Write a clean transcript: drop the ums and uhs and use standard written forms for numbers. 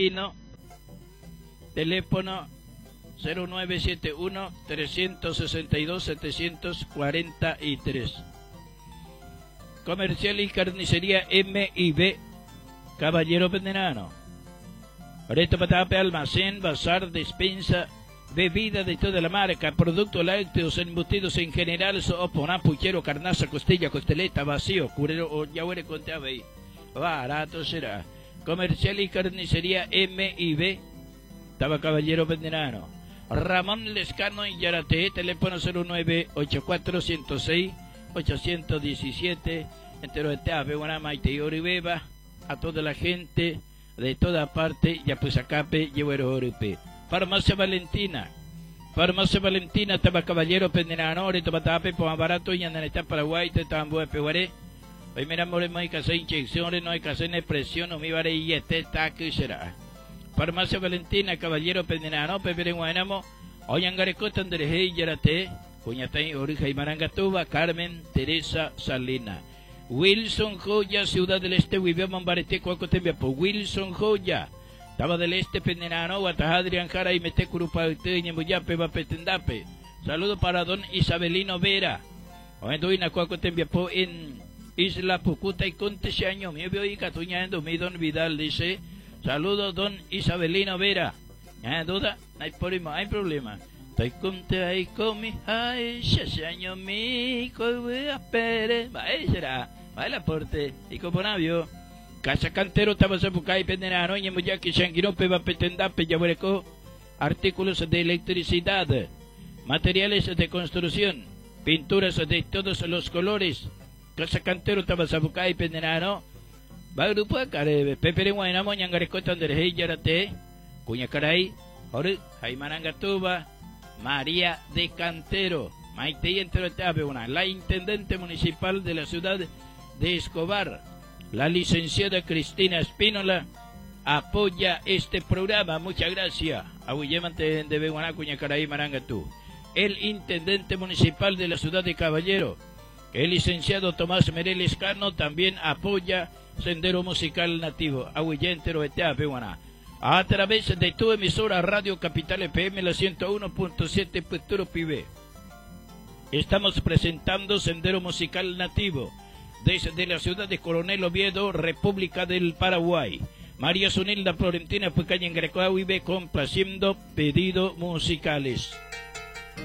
Aquino, teléfono 0971 362 743. Comercial y Carnicería M y B, Caballero Venerano. Reto Patape, almacén, bazar, despensa, bebida de toda la marca, productos lácteos, embutidos en general, sopa, puchero, carnaza, costilla, costeleta, vacío, curero, o yahuere con Barato será. Comercial y Carnicería M y B, Taba Caballero Venerano. Ramón Lescano y Yarate, teléfono 0984 106 817, entero de Tape, Guanamaite y Oribeba, a toda la gente de toda parte, ya pues acape, Oripe. Farmacia Valentina, Farmacia Valentina, Taba Caballero, Pendenano, Tape, Barato, y Andaneta, Paraguay, Tetambo, Peguaré. Hoy mira, more, no hay que hacer inyecciones, no hay que hacer presión, no me vare y este taque será. Farmacia Valentina, Caballero, Pendenano, Pepe Guanamo, Oyangarecota, Andrés, Yarate, Cuñatay, Orija y Marangatuba, Carmen Teresa Salina. Wilson Joya, Ciudad del Este, Huibeo, Mambarete, Cuacotembiapo. Wilson Joya, Taba del Este, Pendenano, Adrián Jara y Mete Curupa, Ñembuyape, Bapetendape. Saludo para don Isabelino Vera. Oenduina, Cuacotembiapo, en Isla Pucuta y Conte ese año. Mi y Catuña, mi don Vidal dice. Saludo don Isabelino Vera. ¿No duda? No hay problema, hay problema. Estoy conte ahí con mi ay, ese año mi pere, va será, va el aporte y como navio. Casa Cantero, Tabasapucay, Penderano, Ñemuyaki, Shanguirope, Bapetendape, Yabureco, artículos de electricidad, materiales de construcción, pinturas de todos los colores. Casa Cantero, Tabasapucay, Penderano, va grupo de Carebe, Pepe Guaynamo, Ñangarecota, Andrés, Yarate, Cuñacaray, Jorge, Jaimarangatuba, María de Cantero, Maite la intendente municipal de la ciudad de Escobar, la licenciada Cristina Espínola, apoya este programa. Muchas gracias. El intendente municipal de la ciudad de Caballero, el licenciado Tomás Mereles Cano, también apoya Sendero Musical Nativo. A través de tu emisora Radio Capital FM, la 101.7 Futuro Pibe. Estamos presentando Sendero Musical Nativo desde la ciudad de Coronel Oviedo, República del Paraguay. María Zunilda Florentina Pucaña en Grecoahuibe complaciendo pedidos musicales.